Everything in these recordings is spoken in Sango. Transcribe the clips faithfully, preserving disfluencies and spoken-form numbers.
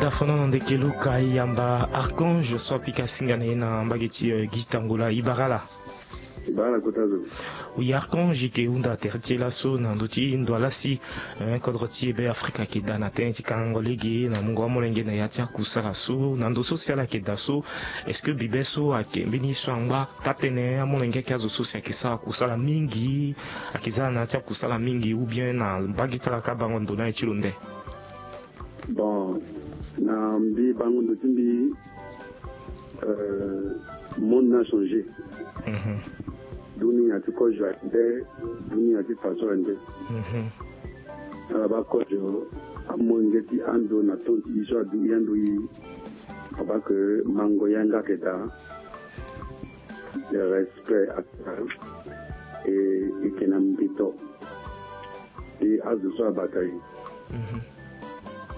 Dafono na ndeke luka yamba Archange so apika singa na ye na mbage ti, euh, Guy Tangola, i bara ala. I bara ala kota zo. Oui, Archange, i ke hunda tere ti e laso na ndö ti ndo ala si, eh, kodro ti e Be Afrika ayeke daa na tënë ti kangango lege na mungo amolenge na ya ti akusala so na ndo so si ala yeke daa so. Est-ce que bibe so ayeke mbeni ye so angba taa-tënë amolenge ayeke azo so si ayeke sara kusala mingi, ayeke za na ya ti akusala mingi, ou bien na mbage ti ala kâ bango ndo ni aye ti lo nde? Bon, na mbi bango ndo ti mbi, euh, monde ni achangé. Mhm. Dunia ti kozo aye nde, dunia ti faso aye nde. Mhm. Ala baa kozo, amolenge ti ando na ton ti e so adu e ando e, a baa ke mango yanga ayeke daa. Le respect ayeke daa. E, e yeke na mbito. E azo so abata e. Mhm.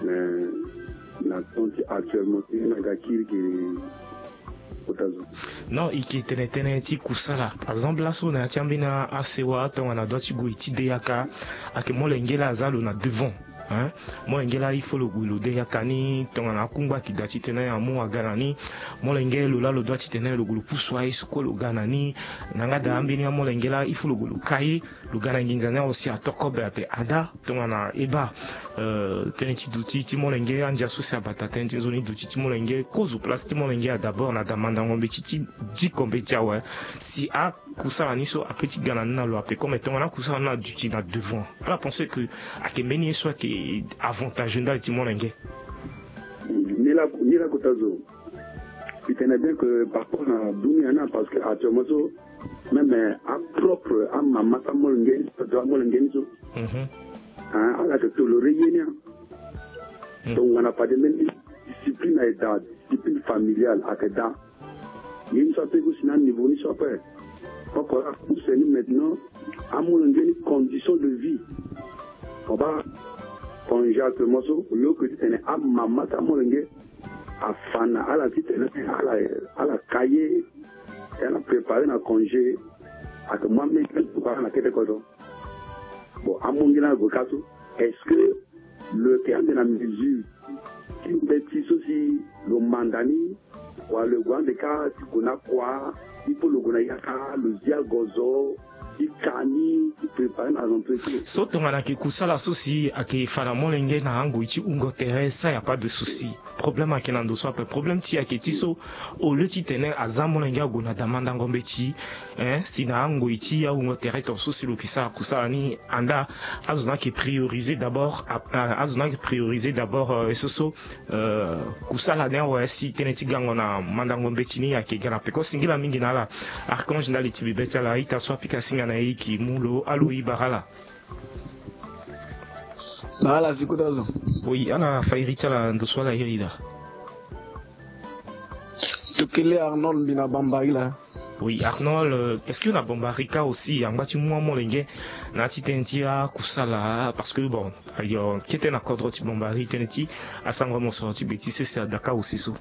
Mais na ton ti actuellement ti e na ga kiri ke kota zo. Non, e yeke tene tënë ti kusala. Par exemple, laso na ya ti ambeni asewa tongana adua ti gue ti de yaka, ayeke molenge laa aza lo na devant, hein. Molenge laa il faut lo gue lo de yaka ni, tongana akungba ayeke daa titene amu aga na ni. Molenge lo laa lo dua titene lo gue lo pusu aye so kue lo ga na ni. Na yanga daa ambeni amolenge laa il faut lo gue lo ka ye. Lo ga na nginza ni awe si ato kobe ape ada tongana e baa, euh, tënë ti duti ti molenge andia so si abata tënë ti nzoni duti ti molenge kozo place ti molenge a d'abord na da mandango mbeti ti diko mbeti awe. Si akusala ni so ape ti ga na ni na lo ape comme tongana akusala ni aduti na devant, ala pense que ayeke mbeni ye so ayeke avantage ndali ti molenge. Ni la, ni la kota zo. Mbi tene bien que par rapport na dunia ni, parce que actuellement so, même, euh, apropre amama ti amolenge ni so, azo amolenge ni so. Mhm. Hein, ala yeke toléré ye ni, hein. Mm. Tongana fade mbeni discipline ayeke daa, discipline familiale ayeke daa. Ye ni so ape gue si na aniveau ni so ape. Oko ala pousse ni maintenant amolenge ni condition de vie. Mo baa congé actuellement so, au lieu que titene amama ti amolenge afa na ala titene ala, ala ka ye, ala préparé na congé, ayeke mu amolenge ni ala na kete kodro. Bon, amolenge ni ala gue kâ so, est-ce que lo yeke ande na mesure ti mbeti so si lo manda ni, wala lo gue ande kâ ti gue na kua, il faut lo gue na yaka, lo zi agozo, ti ka ni, ti préparé na entreprise. So tongana ayeke kusala so si ayeke fa na molenge na angoi ti hungo tere, ça y a pas de souci. Problème ayeke na ndo so ape. Problème ti e ayeke ti so, au lieu titene aza molenge ague na da mandango mbeti, hein, si na angoi ti ahungo tere ton so si lo yeke sara kusala ni, anda azo ni ayeke prioriser d'abord, a, a, azo ni ayeke prioriser d'abord, euh, so so, euh, kusala ni awe si tënë ti gango na mandango mbeti ni ayeke ga na peko. Singila mingi na ala Archange ndali ti bibe ti ala, a-ita so apika singa na e e yeke mu lo. Alo, e bara ala. Na ala si kota zo. Oui, ala fa iri ti ala ndo so ala iri daa. Tokele Arnold, mbi na Bambari laa. Oui, Arnold, euh, est-ce que na Bambari kâ aussi angba ti mu amolenge na ya ti tënë ti akusala, parce que bon, ayo, kete na kodro ti Bambari tënë ti asango mosoro ti be ti sese ada kâ aussi so.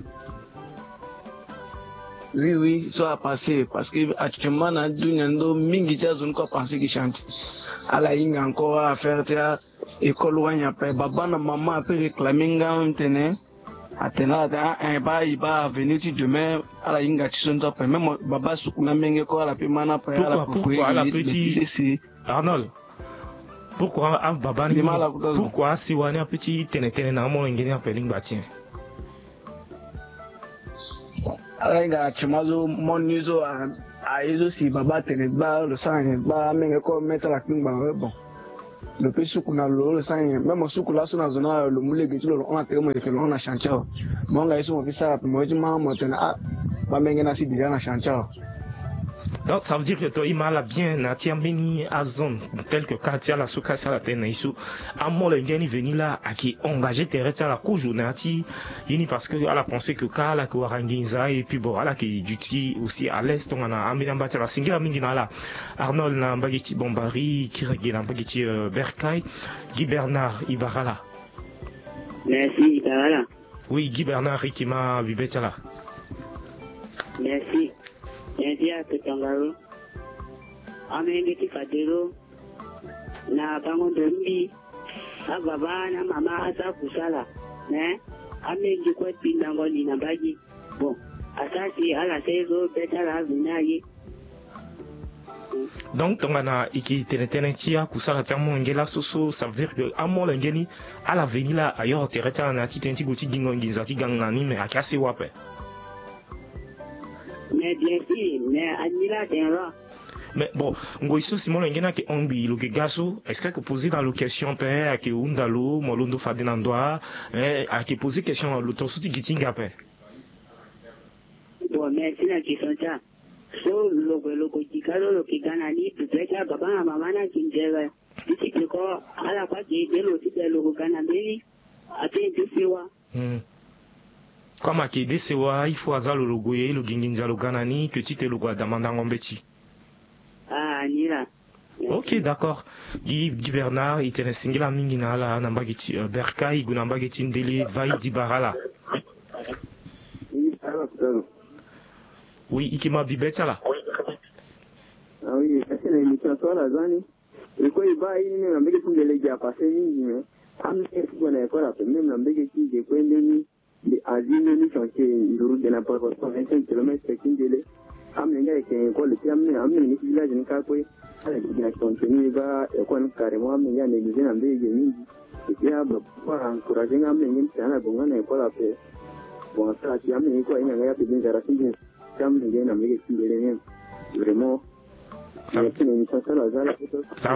Oui, oui, so a passé, parce que actuellement na dunia ndo mingi ti azo ni kue a pensé gi chantier. Ala hinga encore affaire ti a école wani ape, baba na mama ape réclamer nga même tene, atene ala tene, ah, eh, e baa, e baa avenir ti demain, ala hinga ti so ni so ape. Même baba suku na menge kue ala pe ma ni ape, ala pe ti sese. Arnold, pourquoi a baba ni, pourquoi asewa ni ape ti tene tënë na amolenge ni ape lingba ti e? Ala hinga na tima so mo ni so, a, aye so si baba atene gbaa, lo sara nyen gbaa, amenge kue me ti ala kpingba we, bon. Lo pe suku na lo, lo sara nyen? Même mo suku laso na zo ni, lo mu lege ti lo, lo hon na tere, mo yeke lo hon na chantier awe. Mo hon nga ye so mo fi sara ape, mo ye ti ma mo tene, ah, bamenge ni asi déjà na chantier awe. Donc ça veut dire que to i ma ala bien na ya ti ambeni azone tel que kâ ti ala so kâ si ala tene na e so, amolenge ni veni laa ayeke engagé tere ti ala kozo na ya ti ye ni, parce que ala pensé que kâ ala yeke wara nginza, et puis bon, ala yeke duti aussi à l'aise tongana ambeni amba ti ala. Singila mingi na ala Arnold na mbage ti Bambari, kiri ge na mbage ti, euh, Bercail. Guy Bernard, e bara ala. Merci, e bara ala. Oui, Guy Bernard, e yeke ma bibe ti ala. Merci. Merci a tongana lo. Amenge ti fade lo na bango ndo mbi. Ababa na mama asara kusala. Mais Amenge kue pindango ni na mbage. Bon, asara si ala sara ye so be ti ala aveni aye. Donc tongana e ke tene tënë ti akusala ti amolenge laso so, ça veut dire que amolenge ni ala veni laa ayoro tere ti ala na ya ti tënë ti gue ti gingo nginza ti ga na ni, me ayeke asewa ape. Mais bien sûr, mais ani laa atene laa. Mais bon, ngoi so si molenge ni ayeke hon ngbii lo yeke ga so, est-ce que ayeke poser na lo question ape? Ayeke hunda lo, mo londo fade na ndo a? Eh, ayeke poser question na lo tongaso ti gi ti hinga ape. Bon, merci na question ti a. So lo gue lo gue gi ka so lo yeke ga na ni, peut-être ababa na mama ni ayeke nzere. Ti ti peko ala kue ayeke aidé lo ti be lo gue ga na mbeni. Ate ete sewa. Hmm. Comme ayeke de sewa, il faut aza lo lo gue ye lo gi nginza lo ga na ni ke ti te lo gue adamandango mbeti. Ah, ni laa. Ok, d'accord. Gi, gi Bernard, e tene singila mingi na ala na mbage ti, euh, Berka, e gue na mbage ti Ndele, Vaïd, Ibarala. Oui, e ke ma bibe ti ala. Ah oui, e tene émission so ala za ni. E kue e baa ye ni même na mbage ti Ndele gi apassé mingi, mais amolenge ti gue na école ape même na mbage ti ge kue ndeni. Mbi azi ndeni chantier nduru ge na prévention vingt-cinq kilomètres ti Ndele. Amolenge ayeke na école ti amolenge, amolenge ni ti village ni kâ kue. Ala gi na chantier ni e baa école ni carrément amolenge anégligé na mbage ge mingi. Et puis ababa kue a encouragé nga amolenge ni ti tene ala gue nga na école ape. Bon, asara si amolenge kue ahinga nga ye ape gi nzara ti nzoni. Ti amolenge na mbage ti Ndele même. Vraiment. Ça veut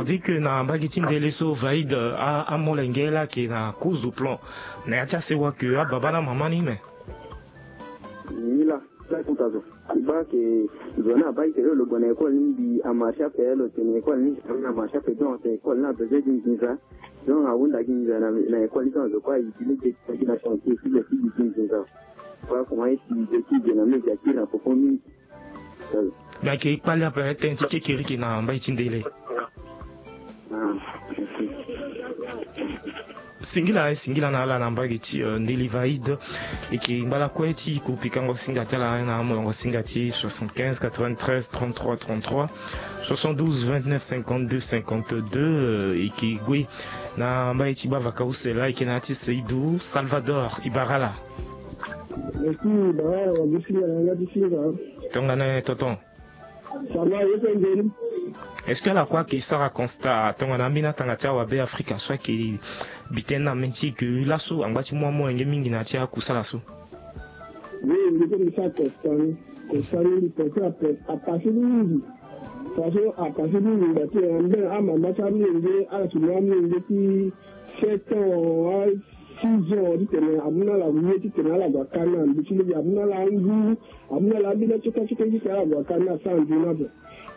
dire que na mbage ti Ndele so Vaïd, euh, a, amolenge laa ayeke na cause de plan na ya ti asewa ke ababa na mama ni me. Ni laa, laa kota zo. E baa ke zo ni abaa e tene lo gue na école ni mbi amarché ape, lo tene école ni amarché ape, donc atene école ni abesoin gi nginza. Donc ahunda gi nginza na, na école ni, donc zo kue ayibi lege ti gi na chantier ti lo ti gi nginza. Voilà comment e si zo ti ge na mege akiri na popo mingi. Mais ayeke kpali ape tënë ti kekereke na mbai ti Ndele. Singila, eh, singila na ala na mbage ti, euh, Ndele Vaïd. E yeke ngba lakue ti ko pikango singa ti ala na amolongo singa ti soixante-quinze quatre-vingt-treize trente-trois trente-trois, soixante-douze vingt-neuf cinquante-deux cinquante-deux, euh, e yeke gue na mbage ti bavaka use laa e yeke na ya ti Seydou Salvador Ibarala. Merci, Ibarala, wa gi singa na yanga ti singa. Tongana tonton. Ça va, ye so nzoni. Est-ce que ala kue ayeke sara constat tongana ambeni atanga ti awabe Afrika so ayeke bi tënë na mê ti e ke laso angba ti mu amolenge mingi na ya ti akusala so? Oui, mbi so mbi sara constat ni. Constat ni mbi pense ape, apassé ni mingi. Façon apassé ni mingi, ngba ti amama ti amolenge ala yeke mu amolenge ti sept ans, six ans titene amu na ala ye titene ala gue akana na mbi ti lege, amu na ala angu, amu na ala ambeni atioka atioka titene ala gue akana na sara nzoni ape.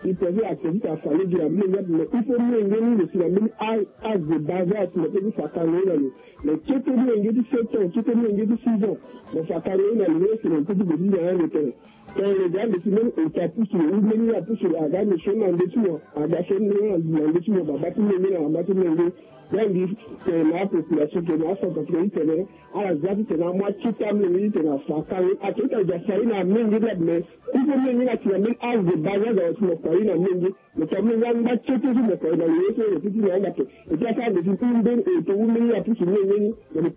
Il peut dire atene titene afa lege na mbi lege ape, mais il faut mbi lenge ni lo si na mbeni âge de bas âge si na peut ti fa kango ye na lo. Mais kete mbi lenge ti sept ans, kete mbi lenge ti six ans, mo fa kango ye na lo, lo si na peut ti gue ti nzara lo tene. Tongana lo ga ande ti même ota apusu lo, ou mbeni apusu lo, aga ande so na nde ti mo, aga so na nde ti mo, baba ti menge na mama ti menge. Nga mbi tene na apopulation tene na acentrafricain ti tene ala za ti tene amu akete amenge ti tene afa akango. Atene ti aza fa ye na amenge ni ape, mais il faut menge ni ati na mbeni âge de bas âge awe ti mo fa ye na menge. Mo ti amenge angba kete so mo fa ye na lo ye so lo ti ti na anda ape. Et puis asara ande ti mbeni oto ou mbeni apusu menge ni.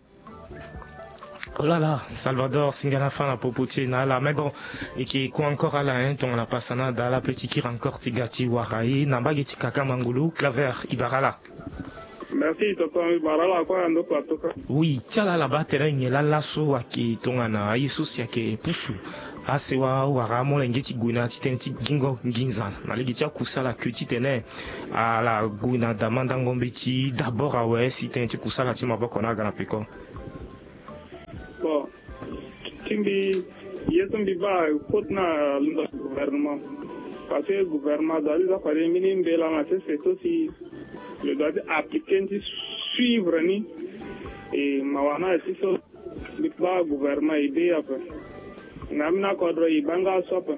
Oh là là, Salvador, singa na fa na popo ti e na ala. Mais bon, e yeke kue encore ala, hein, tongana pasa na da ala pe ti kiri encore ti ga ti wara e na mbage ti kaka mangolo, Claver Ibarala. Merci tonton Ibarala, kue na ndo plateau ka. Oui, ti ala ala baa tere nyen laa laso ayeke tongana aye so si ayeke pusu asewa wala amolenge ti gue na ya ti tënë ti gingo nginza na lege ti akusala ke titene ala gue na damandango mbeti d'abord awe si tënë ti kusala ti maboko ni aga na peko. Bon, ti mbi, ye so mbi baa koti na londo ti gouvernement. Parce que gouvernement doit ti za fade mbeni mbela na sese so si lo doit ti appliquer ni ti suivre ni. E mawa na ti so mbi baa gouvernement e de ape. Na ambeni akodro e baa nga so ape.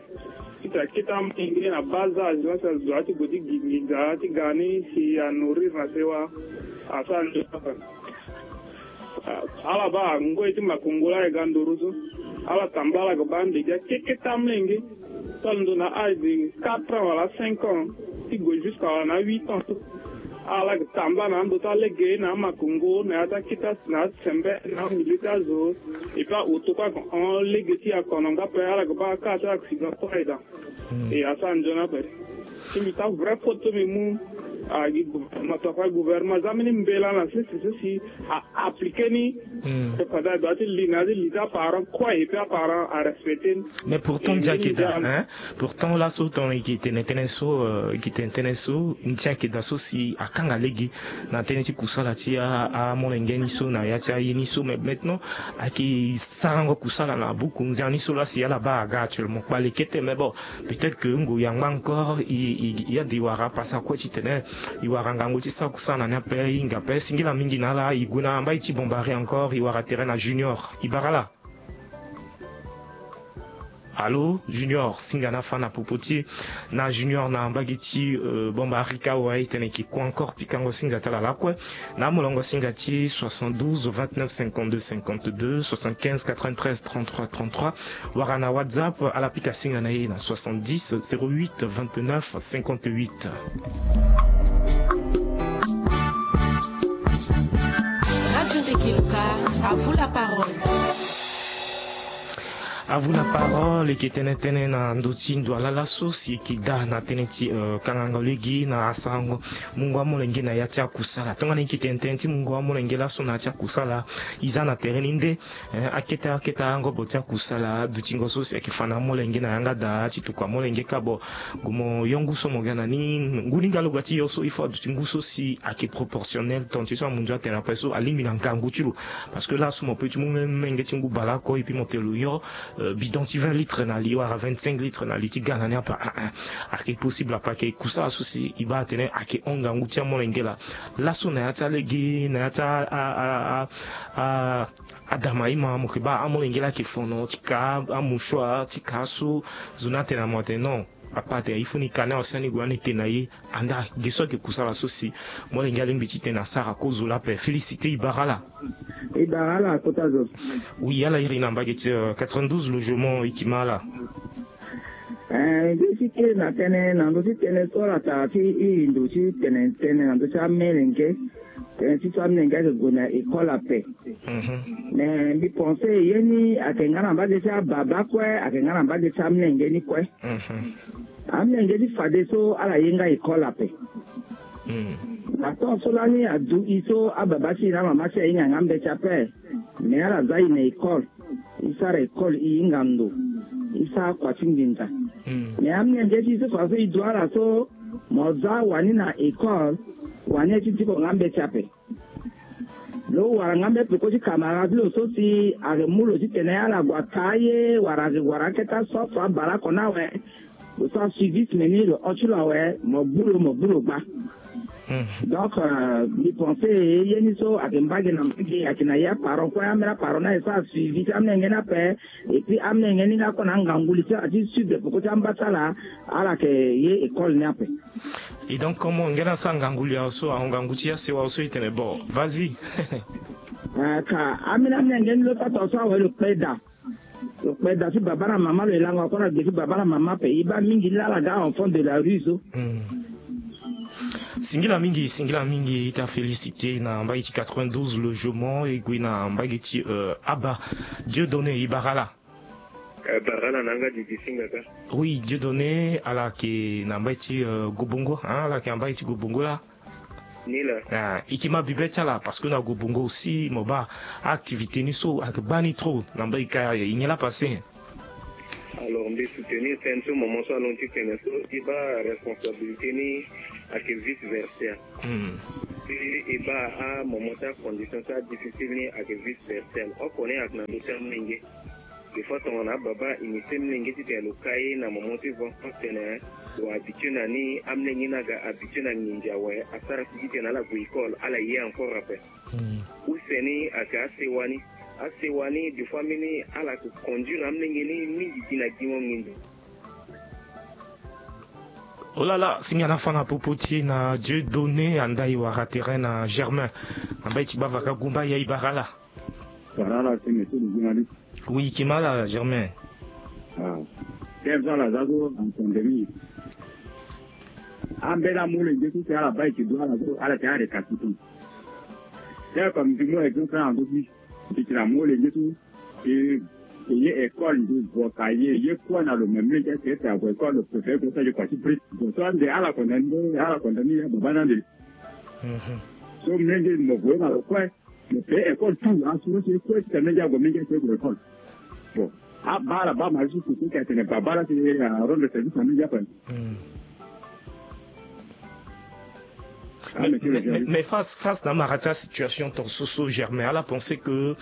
Titene akete amolenge na bas âge, so si azo doit ti gue ti gi nginza ti ga ni si a nourrir na sewa, asara nzoni ape. Ah, ala baa ngoi ti makongo laa e ga nduru so. Ala tambula ala ga baa ande gi akekete amolenge so alondo na âge de quatre ans wala cinq ans ti gue jusqu'à wala na huit ans so. Ala yeke tambula na ando ti alege na amakongo na ya ti akita na asembe na amili ti azo. Epui aoto kue ayeke hon lege ti akono nga ape ala yeke baa kâ ti ala yeke si ga kue aye daa. E asara nzoni ape. Si mbi taa vrai faute so mbi mu. Agi gouvernement to afa gouvernement za mbeni mbela na sese so si a appliquer ni. Tongana a doit ti li na ya ti li ti aparent kue epui aparent arespecter ni. Mais pourtant ndia ayeke daa hein. Pourtant laso tongana e yeke tene tënë so e yeke tene tënë so ndia ayeke daa so si akanga lege na tënë ti kusala ti amolenge ni so na ya ti aye ni so mais maintenant ayeke sarango kusala na buku nzia ni so laa si ala baa aga actuellement kpale kete mais bon. Peut-être que ngoi angba encore i i i ade i wara pasa kue titene i wara ngangu ti sara kusala na ni ape i hinga ape singila mingi na ala i gue na mbai ti bombari encore i wara terrain na junior i bara ala. Allô junior singa na fa na popo ti e. Na junior na mbage ti bombarika wa e tene e ke kue encore pikango singa ti ala lakue. Na amolongo singa ti soixante-douze vingt-neuf cinquante-deux cinquante-deux soixante-quinze quatre-vingt-treize trente-trois trente-trois. Wala na whatsapp ala pika singa na e na soixante-dix zéro huit vingt-neuf cinquante-huit. Radio Ndeke Luka, à vous la parole. À vous la parole e ke tene tene na ndö ti ndo ala laso si e ke daa na tënë ti kangango lege na asarango mungo amolenge na ya ti akusala tongana e ke tene tënë ti mungo amolenge laso na ya ti akusala. E za na tere ni nde akete akete angobo ti akusala dutingo so si ayeke fa na amolenge na yanga daa ti tuku amolenge kâ bo. Gue mo yo ngu so mo ga na ni ngu ni nga lo ga ti yo so il faut aduti ngu so si ayeke proportionnel tonga ti so amunzu atene ape so alingbi na ngangu ti lo. Parce que laso mo peut ti mu même menge ti ngu baleoko epui mo tene lo yo bidon ti vingt litres na li wala vingt-cinq litres na li ti ga na ni ape. Ayeke possible ape ayeke kusala so si e baa atene ayeke hon ngangu ti amolenge laa. Laso na ya ti alege na ya ti a a a a adama ima mo yeke baa amolenge laa ayeke fono ti ka amouchoir ti ka so. Zo ni atene na mo atene non. Papa atene il faut ni ka ni awa si ani gue ani tene na ye. Anda ge so ayeke kusala so si molenge alingbi titene asara kozo laa ape félicité e bara ala. E bara ala kota zo. Oui ala iri na mbage ti quatre-vingt-douze logement e kima ala. Nge ti kiri na tënë na ndö ti tënë so ala tara ti e ndo ti tene tënë na ndö ti amolenge. Tënë ti so amolenge ayeke gue na école ape. Mais mbi pense ye ni ayeke nga na mbage ti ababa kue ayeke nga na mbage ti amolenge ni kue. Amolenge ti fadeso ala ye nga école ape. Na temps so lani adu e so ababa ti e na amama ti e ahinga nga mbeti ape. Mais ala za e na école. E sara école e hinga ndo. E sara kua ti nginza. Mais amolenge ti e so fadeso e du ala so mo za wani na école. Wani aye ti diko nga mbeti ape. Lo wara nga mbe peko ti camarade ti lo so si ayeke mu lo titene ala gue ata aye wala ayeke wara akete asoso abaleoko ni awe. Lo sara suivisme ni lo hon ti lo awe mo gbu lo mo gbu lo gba. Donc mbi pense ye ni so ayeke mbage na mbage ayeke na ye aparent kue ambeni aparent ni aye sara suivi ti amolenge ni ape. Epui amolenge ni nga kue na angangu li ti ala ti sud peko ti amba ti ala. Ala yeke ye école ni ape. Et donc comme nge na sara ngangu li awe so ahon ngangu ti asewa awe so e tene bon vas-y. Ka ambeni amolenge ni lo sara tonga so awe lo kpe daa. Lo kpe daa ti baba na mama lo e lango akua na gbe ti baba na mama ape e baa mingi ni laa ala ga enfant de la rue so. Singila mingi singila mingi ita félicité na mbage ti quatre-vingt-douze logement e gue na mbage ti aba. Dieu donné e bara ala. Bara ala na yanga didi singa ka. Oui Dieu donné ala yeke na mbage ti gobongo ala yeke na mbage ti gobongo laa. Ni laa. E ke ma bibe ti ala parce que na gobongo aussi mo baa activité ni so ayeke baa ni trop na mbage ka e nyen laa passé. Alors mbi soutenir tënë so moment so alon ti tene so e baa responsabilité ni ayeke vice versa. Si e baa amoment ti acondition so adifficile ni ayeke vice versa oko ni ayeke na ndö ti amolenge. Des fois tongana ababa initié mlenge titene lo ka ye na moment ti vent so tene lo habitué na ni amlenge ni aga habitué na nginzi awe asara si titene ala gue école ala ye encore ape. Use ni ayeke asewa ni. Asewa ni des fois mbeni ala yeke conduire amlenge ni mingi gi na gingo nginzi. Olala singana fa na popo ti e na Dieu donné anda e wara terrain na Germain. Na mbai ti bavaka gumba ya e bara ala. Bara ala si monsieur le journaliste. Oui e ke ma ala Germain. Ah. Quinze ans la za so en pandémie. Ambeni amolenge so si ala baa e ke du ala so ala tene arécalcitrant. Tel comme mbi mu exemple na ndo ti mbi tene amolenge so e e ye école mbi vo ka ye e ye kue na lo me mlenge si ete ague école lo préféré ko sara kua ti brique. Bon so ande ala condamné ala condamné ya baba ni ande. So mlenge mo gue na lo kue. Lo pe école tout assuré si kue si tene mlenge ague mlenge si ague école. Bon abaa ala baa mari so si kue si atene baba la si arendre service na mlenge ape. Mais, mais, mais face, face na amara ti asituation ton so so Germain ala pensé que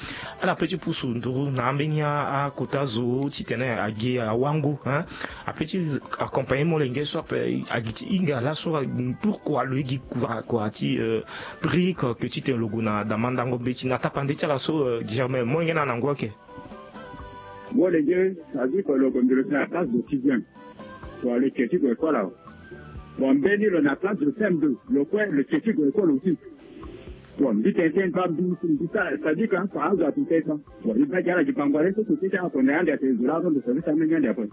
ala pe ti pusu nduru na ambeni akota zo titene agi awango hein. Ape ti accompagner molenge so ape agi ti hinga laso. Pourquoi lo ye gi kua kua ti euh, brique que titene lo gue na damandango mbeti na tapande ti ala so euh, Germain molenge na na ngu ake. Molenge ça veut dire que lo gue nduru si na classe de sixième. Bon le ke ti gue école awe. Bon mbeni lo na classe de cm deux lo kue lo ke ti gue école aussi. Bon mbi tene tene baa mbi mbi sara c'est à dire que azo ato tene baa. Bon e baa gi ala gi bango ale so so tene ti ala tene ande atene zo laa rondo service amenge ande ape.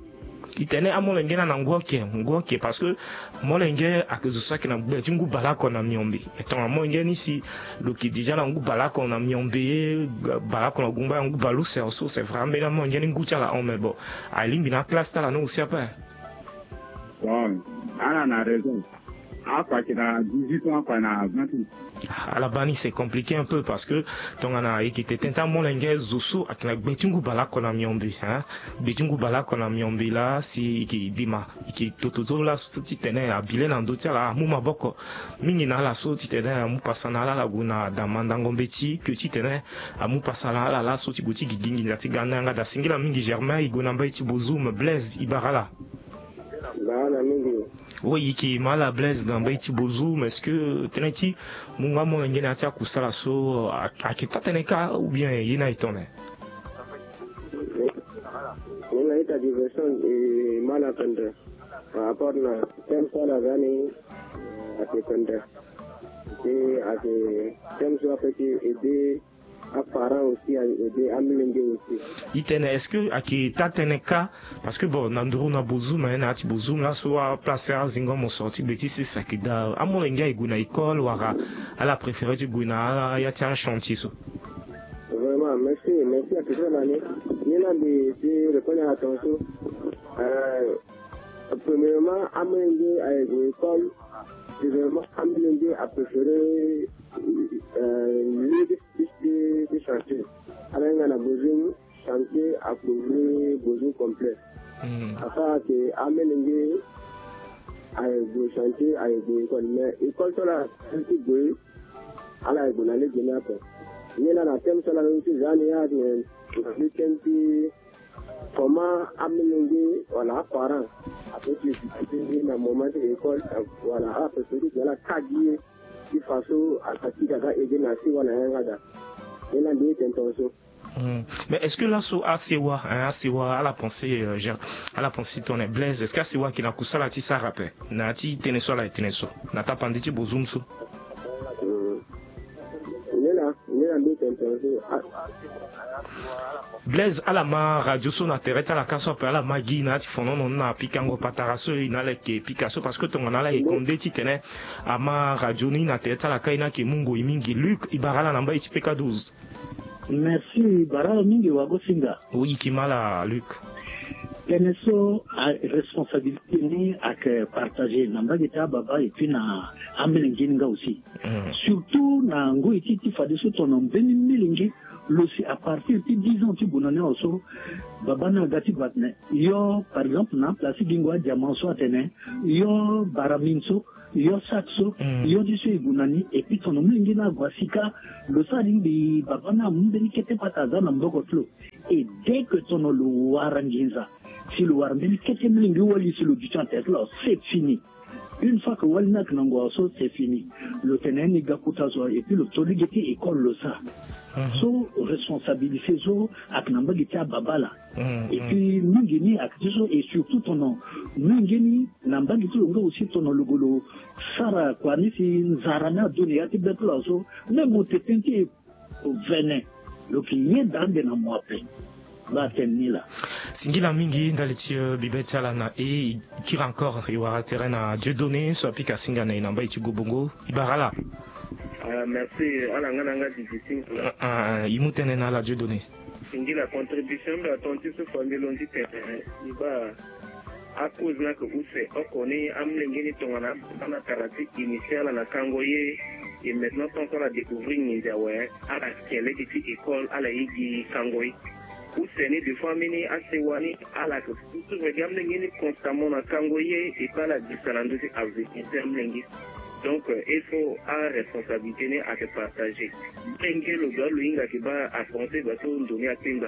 E tene amolenge ni ana ngu oke ngu oke parce que molenge ayeke zo so ayeke na gbe ti ngu baleoko na miombe. E tongana molenge ni si lo yeke déjà na ngu baleoko na miombe baleoko na gungba na ngu baleuse so c'est vrai ambeni amolenge ni ngu ti ala hon mais bon. Alingbi na classe ti ala ni aussi ape. Bon ala na raison. Akua ayeke na dix-huit ans akua na vingt ans. Ala baa ni c'est compliqué un peu parce que tongana e yeke tene tene ti amolenge zo so ayeke na gbe ti ngu baleoko na miombe hein. Gbe ti ngu baleoko na miombe laa si e yeke dima e yeke toto so laso titene abi le na ndö ti ala amu maboko mingi na ala so titene amu pasa na ala ala gue na damandango mbeti ke titene amu pasa na ala laso ti gue ti gigi nginza ti ga na yanga daa singila mingi Germain e gue na mbage ti bozoum Blaise e bara ala. Bara ala mingi. Oui e yeke ma ala Blaise na mbage ti bozoum est-ce que tënë ti mu nga molenge na ya ti akusala so ayeke taa tënë kâ ou bien ye ni aye tongana? Ni na ita diversion e ma na pendre par rapport na thème so ala za ni. Ayeke pendre. Ti ayeke thème so ape ti aider aparent aussi aye aider amilenge aussi. E tene est-ce que ayeke taa tënë kâ? Parce que bon na nduru na bozoum na ya ti bozoum laso aplace azingo mo sorti gbe ti sese ayeke daa amolenge aye gue na école wala ala préféré ti gue na ya ti achantier so? Vraiment merci merci ayeke so na ni. Ye na mbi ti répondre na ton so. Premièrement amolenge aye gue école. Deuxièmement amolenge apréféré lieu ti ti chantier. Ala hinga na besoin chantier akouvrir besoin complet. Asara ke amolenge aye gue chantier aye gue école mais école so ala ti gue ala ye gue na lege ni ape. Ni laa na thème so ala ti za ni ya na week-end ti comment amolenge wala aparent ape ti visiter ni na moment ti école wala ala préféré ti gue ala kâ gi ye ti façon aka ti ga ga aider na si wala yanga daa. Ni laa mbi ye tene tongaso. Mais est-ce que laso asewa hein, asewa ala pensé euh, Jean, ala pensé tongana Blaise est-ce que asewa ayeke na kusala ti sara ape na ya ti tënë so ala ye tene so na tapande ti bozoum so? Blaise ala ma radio so na tere ti ala ka so ape ala ma gi na ya ti fonono ni na pikango patara so e na ala yeke pika so parce que tongana ala yeke konde titene ama radio ni na tere ti ala ka e na yeke mu ngoi mingi. Luc e bara ala na mbage ti peka douze. Merci bara ala mingi wagosinga. Oui e yeke ma ala Luc. Tënë so responsabilité ni ayeke partagé na mbage ti ababa et puis na amilenge ni nga aussi. Surtout na ngoi ti ti fadeso tongana mbeni milenge lo si à partir ti dix ans ti gue na ni awe so baba ni aga ti batene yo par exemple na aplace ti gingo adiaman so atene yo baramine so yo sak so yo ti so e gue na ni et puis tongana milenge ni ague asi ka lo sara lingbi baba ni amu mbeni kete pata aza na mboko ti lo. Et dès que tongana lo wara nginza si lo wara mbeni kete milenge wali si lo duti na tere ti lo c'est fini. Une fois que wali ni ayeke na ngua so c'est fini. Lo tene ni ga kota zo et puis lo to lege ti école lo sara. So responsabilité so ayeke na mbage ti ababa laa. Et puis mingi ni ayeke ti so et surtout tongana mingi ni na mbage ti lo nga aussi tongana lo gue lo sara kua ni si nzara ni ado na ya ti be ti lo so même mo tete ni ti vene lo yeke yeda ande na mo ape. Baa tene ni laa. Singila mingi ndali ti, euh, bibe ti ala na e. I kiri encore, i wara tere na Dieudonné so apika singa na e na mbai ti Gobongo. I bara ala. Ah, merci. Ala nga na nga di di singa. Ah, ah, i mu tënë na ala Dieudonné. Singila contribution mbi aton ti so famille lon ti tene. I ba a cause na ke use oko ni amlenge ni tongana abana tara ti initier ala na kango ye. Et maintenant tant so ala découvrir nginzi awe, ala ke lege ti école, ala ye gi kango ye. Use ni des fois ambeni asewa ni ala ke susu gi amlenge ni constamment na kango ye, et pas ala disa na ndö ti avenir ti amlenge. Donc, euh, il faut aresponsabilité ni ayeke partagé. Ndenge lo doit lo hinga ke baa apenser baa so ndo ni akpengba.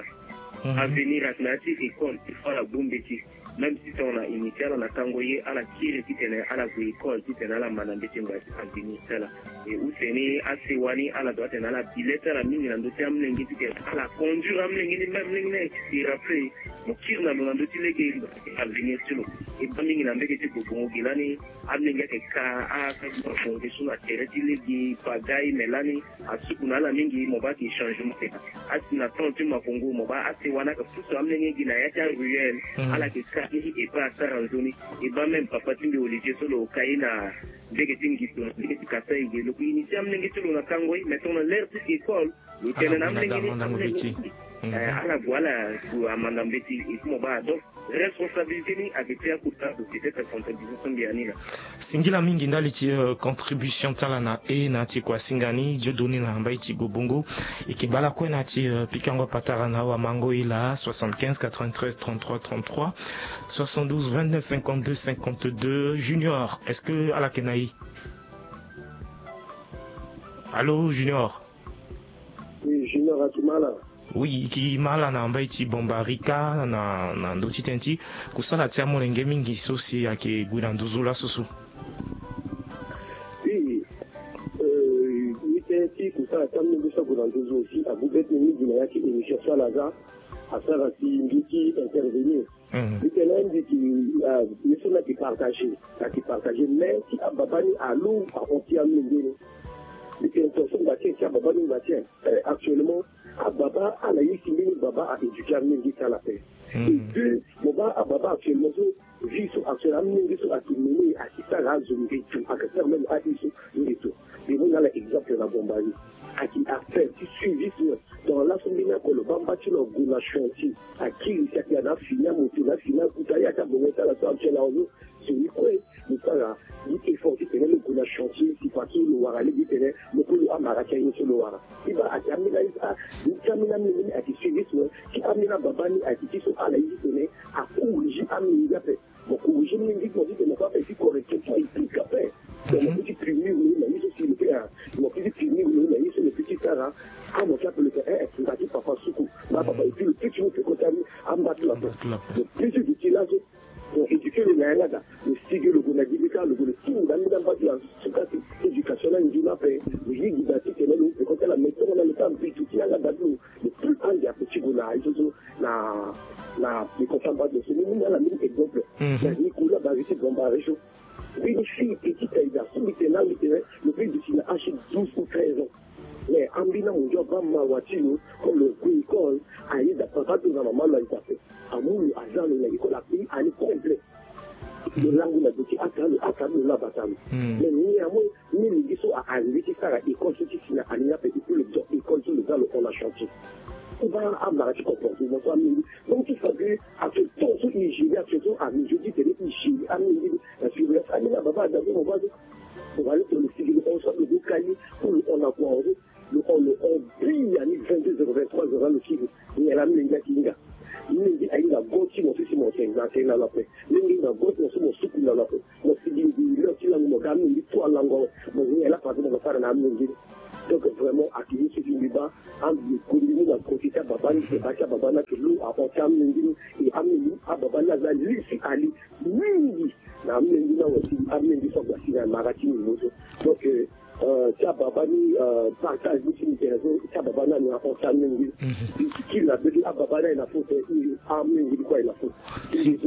Mhm. Avenir ayeke na ya ti école, il faut ala bongbi ti. Même si tongana initier ala na kango ye, ala kiri titene ala gue école titene ala manda mbeti ngba ti avenir ti ala. E use ni asewa ni ala doit atene ala bi le ti ala mingi na ndö ti amlenge titene ala conduire amlenge ni, même amlenge ni ayeke si rappeler mo kiri na lo na ndö ti lege avenir ti lo. E baa mingi na mbege ti Gobongo gi lani amlenge ayeke ka, a, ka, so na tere ti lege pagaille, mais lani asuku na ala mingi, mo baa ayeke changement. Asi na temps ti Makongo mo baa asewa ni ayeke pusu amlenge gi na ya ti aruelle. Mhm. Ala yeke ka ni e baa asara nzoni. E baa même papa ti mbi Olivier so lo ka ye na mbege ti Ngito, na mbege ti Kasaï ge, lo yeke initier amlenge ti lo na kango ye, mais tongana l'heure ti école lo tene na amlenge ni, amlenge ni, eh, ala gue ala gue amanda mbeti, e ti mo baa donc responsabilité ni ayeke ti akota société ti responsabilité so mbi ya ni laa. Singila mingi ndali ti, euh, contribution ti ala na e na ya ti kua singa ni Dieudonné na mbai ti Gobongo. E yeke baa lakue na ya ti, euh, pikango patara na awamango e laa, soixante-quinze quatre-vingt-treize trente-trois trente-trois, soixante-douze vingt-neuf cinquante-deux cinquante-deux. Junior, est-ce que ala yeke na e? Allô, Junior? Oui, Junior, a yeke ma ala? Oui, e yeke ma ala na mbai ti Bambarika, na, na ndö ti tënë ti kusala ti amolenge mingi so si ayeke gue na nduzu laso so. Oui, euh, mbi tënë ti kusala ti amolenge so ague na nduzu aussi, ague bete mingi na ya ti émission so ala za, asara si mbi ti intervenir. Mhm. Mbi tene mbi yeke, ah, ye so mbi yeke partager, mbi yeke partager, mais si ababa ni alo ahon ti amolenge ni. Mbi tene tongaso mbi baa tien, si ababa ni mbi baa tien, eh, actuellement ababa ala ye si mbeni baba a éduquer amolenge ti ala ape. Mhm. Et puis mo baa ababa actuellement so, vie so actuellement amolenge so ayeke mené, ayeke sara azo nde tout, ayeke sara même aye so nde tout. Mbi mu na ala exemple na Bombari. Ayeke affaire ti suivisme. Donc laso mbeni oko lo baa mba ti lo ague na chantier, akiri si ayeke na fini amoto, na fini akuta, ye ayeke abongo ti ala so actuel ahon so. Soni kue lo sara gi effort titene lo gue na chantier, si parti so lo wara lege titene lo kue lo amara ti aye so lo wara. Ti baa ayeke ambeni aye, ah, ti ambeni amolenge ni ayeke suivisme, ti ambeni ababa ni ayeke ti so ala ye titene acorriger amolenge ape. Mo corriger mingi, mo di tene mo fa ape ti correction ti mo, e pika ape. Donc mo peut ti punir lo na ye so si lo peut, ah, mo peut ti punir lo na ye so lo peut ti sara. Ah, mo ti ape lo tene, eh, eh, ngba ti papa suku. Ngba papa, et puis lo peut ti mu peko ti amba ti lo ape. Lo peut ti duti laso. Mo éduquer lo na yanga daa. Lo sigi lo gue na gi bika, lo gue lo ti nda nda mba ti lo asuka ti éducation na nzoni ape. Lo yigi daa titene lo mu peko ti ala, mais tongana lo ta mbi duti yanga daa ti lo, lo plus ande ape ti gue na ye so so na, na, na peko ti amba ti lo so. Ni mu na ala mbeni exemple. Mhm. Na Nicolas Barry ti Bambara so. Mbeni fille petite aye daa so mbi tene na mbi tene lo peut duti na âge douze ou treize ans. Mais ambeni amunzu abaa mawa ti lo, comme lo gue école, ayeda papa to na mama lo ayeda ape. Amu lo, aza lo na école, apayer année complet. Lo langu na do ti ata lo, ata lo laa bata lo. Hmm. Mais néanmoins, ni lenge so a arrivé ti sara école so ti si na année ni ape, et puis lo do école so lo za lo hon na chantier. Ti baa amara ti comportement so amolenge. Donc ti fa que actuel temps so e gérer, actuel so a mesure ti tene e gérer amolenge ni. Na surveillance, ambeni ababa ada so mo baa so. Mo baa lo tene lo sigi lo hon so lo zo kali, ou lo hon na kua so. Lo hon, lo hon biani vingt-deux heures, vingt-trois heures, lo sigi. Nyen laa amolenge ayeke hinga? Amolenge ahinga go ti mo so si mo tene na tene na lo ape. Amolenge ahinga go ti mo so mo sukulu na lo ape. Mo sigi mbi leur ti lango, mo ga amolenge ti alango awe. Mo nyen laa parce que mo ga sara na amolenge ni. Donc vraiment ayeke ye so si mbi baa, ambi koli ni na kote ti ababa ni, mbi baa ti ababa ni ayeke lo ahon ti amolenge ni. E amolenge, ababa ni aza li si ali mingi na amolenge ni awe, si amolenge so agba si na mara ti ngingo so. Donc, euh, euh, ti ababa ni, euh, partage ni ti mbi tene so, ti ababa ni ane ahon ti amolenge ni. Mhm. Mbi kiri na bege, ababa ni aye na faute, amolenge ni kue aye na faute. Si-,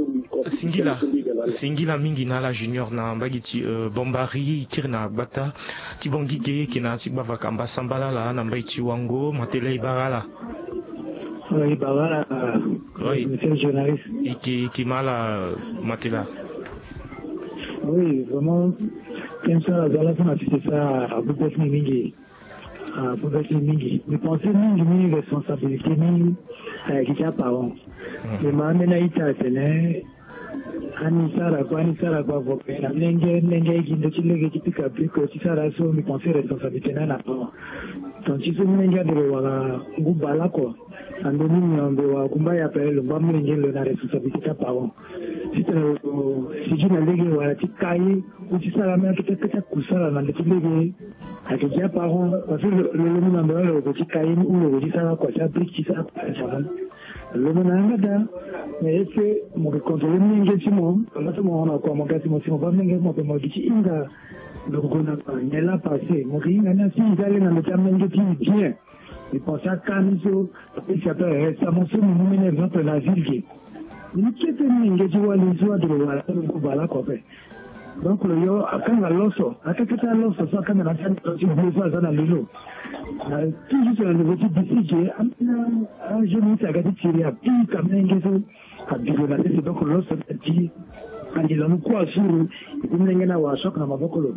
singila, singila mingi na ala Junior na mbage ti, euh, Bombari, i kiri na gbata ti Bangui ge, e yeke na ya ti gbavaka mbasambala laa na mbage ti Wango, ma tele e bara ala. Ibara, monsieur le journaliste. Iki iki mala matela. Oui, vraiment. Ten so ala za la so na sisi sa abubes ni mingi. Abubes ni mingi, mi pense mingi ni responsabilité ni. Ayeke ti aparent. Mais ma ambeni a-ita atene ani sara kua ani sara kua avoka na mlenge mlenge aye gi ndo ti lege ti pika piko ti sara so mi pense responsabilité ni ana parent. Ton ti so mlenge ade lo wara ngu bale oko. Ando ni miombe wa kumba ya pele lo mba mlenge lo na responsabilité ti aparent. Titene lo sigi na lege wala ti kai ou ti sara mê akete akete akusala na ndo ti lege. Ayeke gi aparent parce que lo lo mu na ndo wala lo ko ti kai ou lo ko ti sara kua ti abrique ti sara kua ti aman. Lo mu na yanga daa. Mais est ce que mo ke contrôler mlenge ti mo? Laa so mo hon na kua mo ga si mo si mo baa mlenge ti mo ape mo gi ti hinga. Lo gue na kua nyen laa passé mo ke hinga ni asi eza le na ndo ti amlenge ti bien. Mi pense aka ni so apesi ape resta mo so mi mu mbeni exemple na ville ge. Ni kete ni nge ti wali so ade lo wala so lo ngu bale oko ape. Donc lo yo akanga loso akakete aloso so akanga na sani ti blo so aza na lelo. Na toujours na niveau ti bisi ge ambeni ajeune ti aga ti tiri apika menge so. Abilo na sese donc loso ti angila mu kua suru. Epi mlenge na wa choc na maboko lo.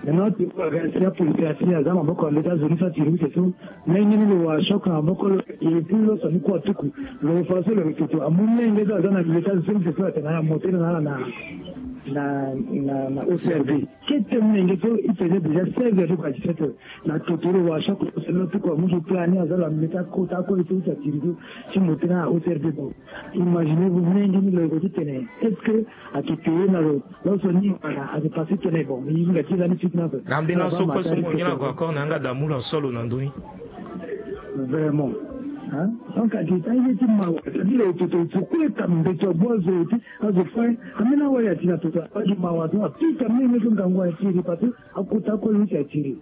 Maintenant ti kua ga si apolisi asi aza maboko na leta zoni so atiri use so. Mlenge ni lo wa choc na maboko lo. Epi loso ni kua tuku lo fa so lo retoto amu mlenge so aza na leta zoni use so atene na moto ni na ala na na na na ocrd. Kete mlenge so i faisait déjà seize heures ti kua dix-sept heures. Na toto lo wa choc lo sene lo tuku amu so plan ni aza lo amilete akota akoli so ti atiri so. Ti mo tena na ocrd bon. Imagine vous mlenge ni lo yeko ti tene est ce que ake peye na lo? Lo so ni wala ake passe tene bon i hinga ti la ni suite na so. Na mbeni aso kue so mo ngia na ko accord na yanga damu lo aso lo na ndoni. Vraiment. Donc ake ta ye ti mawa c'est à dire lo toto ti kue ta mbeto agbu azo ti azo fue. Ambeni awali ati na toto abagi mawa so apika mlenge so ngangu atiri parce que akota akoli so ti atiri.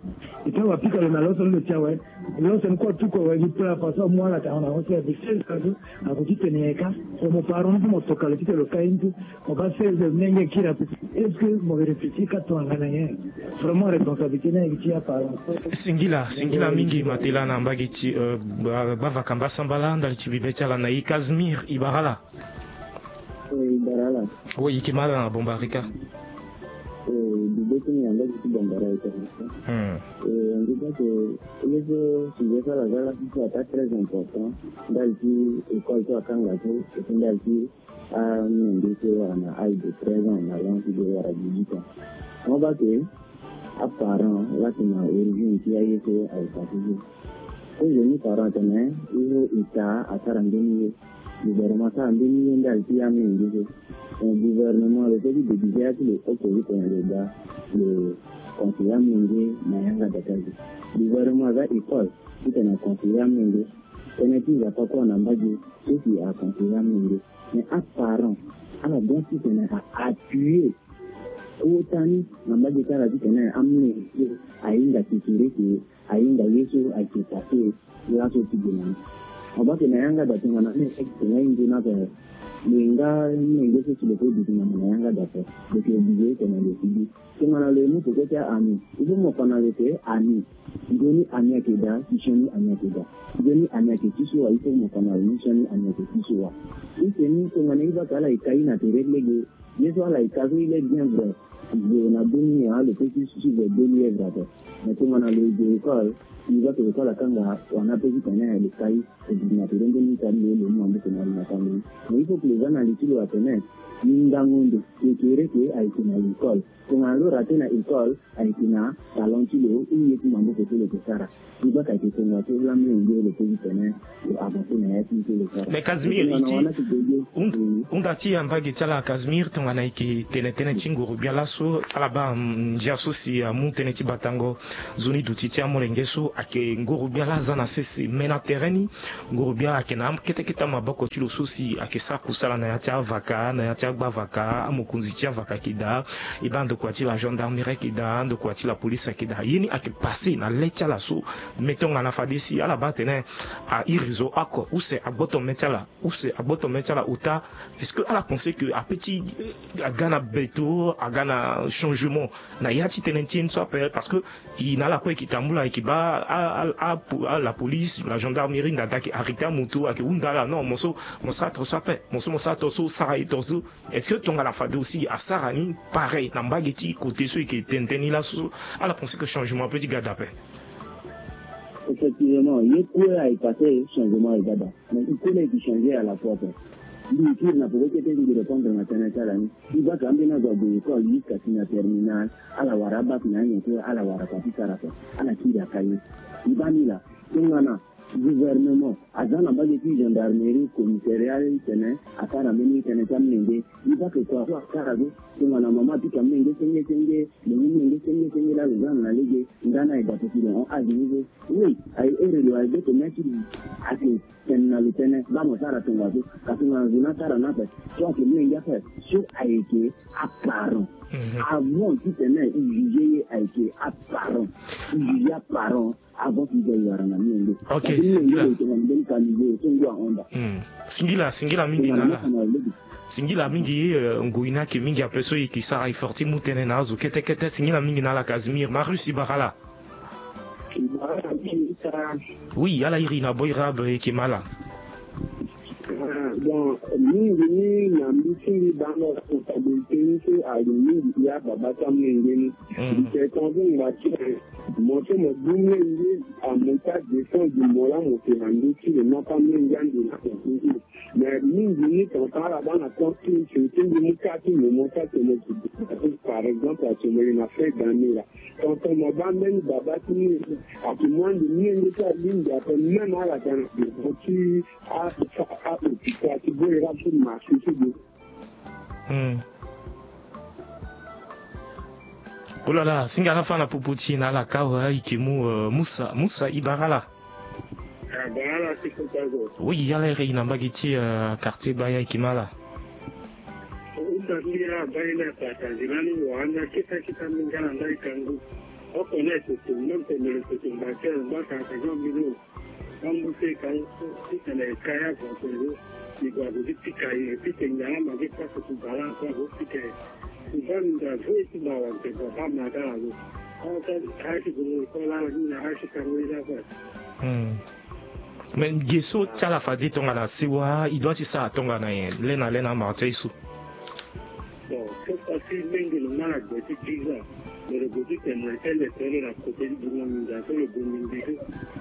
Epi awa apika lo na loso ni lo ti awe. Loso ni kue atuku awe gi pla façon amu ala tanga na oso ya bi seize heures so. Ako ti tene ye ka. So mo parent ni so mo toka lo ti tene lo kai ni so. Mo baa seize heures mlenge kiri ape. Est ce que mo ke réfléchir ka tongana nyen? Vraiment responsabilité ni ayeke ti aparent. Singila singila mingi matela na mbage ti gbavaka mbasambala ndali ti bibe ti ala na e Casimir ibara ala. Ibara ala. Wo yeke ma ala na bombarika. Bibe ti ni na mbage ti bombarika. Ngi bake ye so sujet so ala za la so ata très important. Ndali ti école so akanga so ete ndali ti amenge so wara na âge de treize ans na allant ti de wara dix-huit ans. Mo bake aparent laa ti na origine ti aye so aye pase so. Kozoni parent atene il faut état asara mbeni ye. Gouvernement asara mbeni ye ndali ti amenge so. Gouvernement lo peut ti déguiser ya ti lo oko ti tene lo ga lo conseiller amenge na yanga data so. Gouvernement aza école ti tene aconseiller amenge. Tënë ti nzapa kue na mbage so si aconseiller amenge. Mais aparent ala bien ti tene aappuyer kota ni na mbage ti ala ti tene amenge so ahinga kekere ke ahinga ye so ayeke pase laso ti gue na ni. Mo bake na yanga da tongana ni ayeke tene ahinga ni ape. Lo hinga menge so si lo peut duti na mo na yanga da ape. Lo yeke obligé tene lo sigi. Tongana lo ye mu peko ti a-ami il faut mo fa na lo ke ami. Nzoni ami ayeke daa ti sioni ami ayeke daa. Nzoni ami ayeke ti so wa il faut mo fa na lo ni sioni ami ayeke ti so wa. Use ni tongana i baka ala ye kai na tere lege. Ye so ala ye ka so il est bien vrai. Gue na deux mille ya lo peut ti suivre deux mille vrai ape. Mais tongana lo ye gue école i baka école akanga wana peut ti tene lo kai. Odi na tere mbeni tani lo ye lo mu maboko na lo na tani. Mais il faut que lo za na li ti lo atene. Ni ngango ndo kekere ke ayeke na l'école. Tongana lo rate na école ayeke na talent ti lo ou ye ti maboko so lo yeke sara. Ti baka ayeke tongaso laa mlenge lo peut ti tene lo avancer na ya ti so lo sara. Mais Casimir i ti hunda ti ya mbage ti ala Casimir tongana ayeke tene tënë ti nguru gbia laso ala baa ndia so si amu tënë ti batango. Nzoni duti ti amolenge so ayeke nguru gbia laa aza na sese me na tere ni. Nguru gbia ayeke na kete kete amaboko ti lo so si ayeke sara kusala na ya ti avaka na ya ti agbavaka amokonzi ti avaka ayeke daa. E baa ndokua ti la gendarmerie ayeke daa ndokua ti la police ayeke daa ye ni ayeke passe na le ti ala so. Me tongana fade si ala baa atene a iri zo oko use agboto me ti ala use agboto me ti ala ota. Est ce que ala pense que ape ti aga na beto, aga na changement na ya ti tënë ti ye ni so ape, parce que e na ala kue e ke tambula, e ke baa a, a, a, a la police, la gendarmerie, nda daa ayeke arrêter amoto, ayeke hunda ala. Non, mo so mo sara tongaso ape, mo so mo sara tongaso, sara ye tongaso. Est-ce que tongana fade aussi asara ni pareil na mbage ti côté so e ke tene tënë ni laso so? Ala pense que changement ape ti ga daa ape. Effectivement, ye kue aye passé, changement aye ga daa. Mais il faut les changer à la fois, quoi. Mbi kiri na poko kete mbi répondre na tënë ti ala ni. Mbi baka ambeni azo ague école jusqu'à si na terminale, ala wara abac na anyen kue, ala wara kua ti sara, quoi. Ala kiri aka ye. Mbi baa ni laa, tongana gouvernement aza na mbage ti gendarmerie, commissariat, titene asara mbeni tënë ti amolenge, mbi bake kua so asara so. Tongana mama apika molenge senge senge, lo mu molenge senge senge laa lo za na lege, nda ni aye daa ti lo hon age ni so. Oui, aye ere lo aye be tene ti lo. Ake tene na lo tënë baa mo sara tongaso. Kasi tongana zo ni asara ni ape, so ayeke molenge ape, so ayeke aparent. Mhm. Avant titene e juge ye, ayeke aparent. E juge aparent. Avant ti e wara na molenge. Ok, singila. Hmm. Singila, singila mingi na ala. Singila mingi, eh, ngoi ni ayeke mingi ape so e yeke sara effort ti mu tënë na azo kete kete. Singila mingi na ala Casimir. Marius, e bara ala. E bara ala mingi. Oui, ala iri na boira abe, e yeke ma ala. Ah, bon, mingi ni na mbi ti mbi baa na responsabilité ni so aye mingi ya baba ti amolenge ni. Mm. Mbi tene tongana so ngba ti aye, mo so mo du molenge, ah, mo ta défendre mo laa mo yeke na ndö ti lo, non pas molenge ande na ndö ti lo. Mais mingi ni tonton ala baa na temps ti, ti mbi mu kâ ti mo, mo ta tene mo, par exemple, ake mo yeke na fin d'année laa. Tonton mo baa mbeni baba ti ni, ake mu ande molenge ti alingbi ape, même ala ga na ndö ti a, a, a hôpital ti boira ti marché ti lo. Hmm. Olala, singa na fa na popo ti e na ala kâ awe, e yeke mu, euh, Musa, Musa e bara ala. Ah, bara ala ti kota zo. Oui, ala iri na mbage ti, euh, quartier Baya, e yeke ma ala. Uta ti ala baa ye ni apartager lani, wara ande akita kita mingi ala ndali kangu. Oko na e toto, même tene lo toto mba ti ala mba kaka zo mbi lo. Bambu se ka titene e ka ya avantage. Ni gue ague ti pika ye, pika ngbanga ma ge pasa ti bala ko ague pika ye. Ti baa minda ve ti baa wante baba ma ga ague. Awa ka aye ti gue mo école ala ni na aye ti kango ye ni afa. Hmm. Mais ge so ti ala fade tongana sewa, e doit ti sara tongana nyen? Lê na lê na amara ti aye so. Bon, so parce que mingi lo ma na gue ti dix ans, mais lo gue ti tene na tel école na côté ti bunga minda so lo gue mingi so.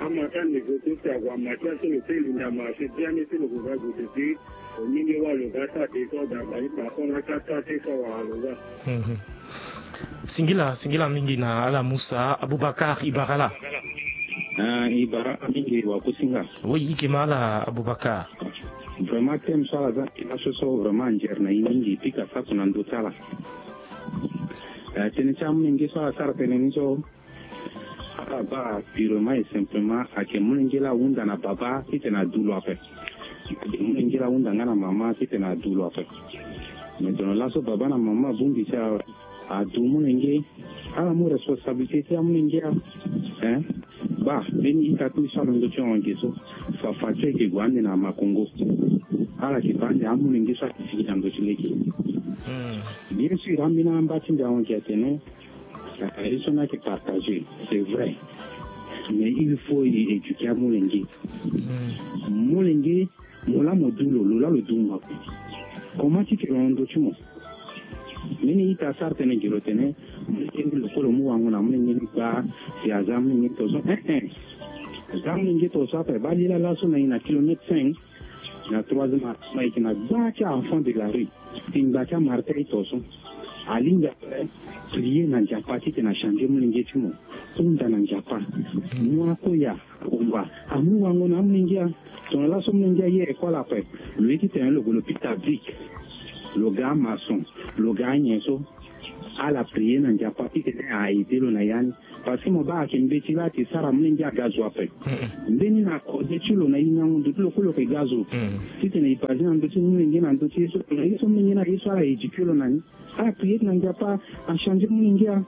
Amara ti ande gue so si ague amara ti aye so lo ti linda marché biani so lo gue ga gue ti. Mingi wâ lo ga sara désordre abali par rapport na sara ti so awara lo ga. Mhm. Singila, singila mingi na ala Musa. Abubakar, e bara ala. Ah, e bara ala mingi wakusinga. Oui, e yeke ma ala Abubakar. Vraiment thème so ala za na e laso so vraiment anzere na e mingi, e pika sako na ndö ti ala. Eh, tënë ti amolenge so ala sara tënë ni so, ala baa purement et simplement ayeke molenge laa ahunda na baba titene adu lo ape. Ayeke molenge laa ahunda nga na mama titene adu lo ape. Mais tongana laso baba na mama abongbi ti ala adu molenge, ala mu responsabilité ti amolenge a. Hein? Baa mbeni ita ti so alondo ti honge so, fafa ti ayeke gue ande na makongo. Ala yeke baa ande amolenge so ayeke sigi na ndö ti lege. Hmm. Bien sûr ambeni amba ti mbi ahon gi atene, ah, ye so ni ayeke partager, c'est vrai. Mais il faut e éduquer amolenge. Hmm. Molenge, mo laa mo du lo, lo laa lo du mo ape. Comment ti ke lo na ndö ti mo? Mbeni ita asara tënë gi lo tene, molenge ni lo kue lo mu wango na molenge ni gbaa, si aza molenge tongaso. Eh, eh. Aza molenge tongaso ape, baa lila laso na e na kilomètre cinq. Na troisième arrondissement, e yeke na gbaa ti a-enfant de la rue. Ti ngba ti amara ti aye tongaso. Alingbi ape prier na Nzapa titene achanger molenge ti mo. Hunda na Nzapa. Mu akoya, akumba. Amu wango na amolenge a. Tongana laso molenge aye école ape, lo ye titene lo gue l'hôpital public. Lo ga amaçon, lo ga anyen so. Ala prier na Nzapa titene a aider lo na ya ni. Parce que mo baa ayeke mbeti laa ti sara molenge aga zo ape. Mm-mm. Mbeni na kode ti lo na e na hundu ti lo kue lo yeke ga zo. Mm. Titene e baser na ndö ti molenge na ndö ti ye so, na ye so molenge ni aye so ala éduquer lo na ni. Ala prier na Nzapa achanger molenge a.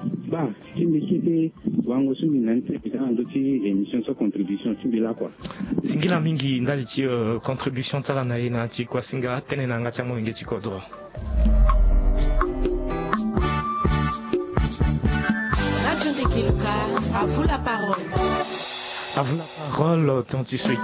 Baa, ti mbi kete wango so mbi na ni ti mbi za na ndö ti émission so contribution ti mbi lakua. Singila mingi ndali ti, euh, contribution ti ala na e na ya ti kuasinga tënë na yanga ti amolenge ti kodro. Kiluka, à vous la parole. À vous la parole, autant ti soi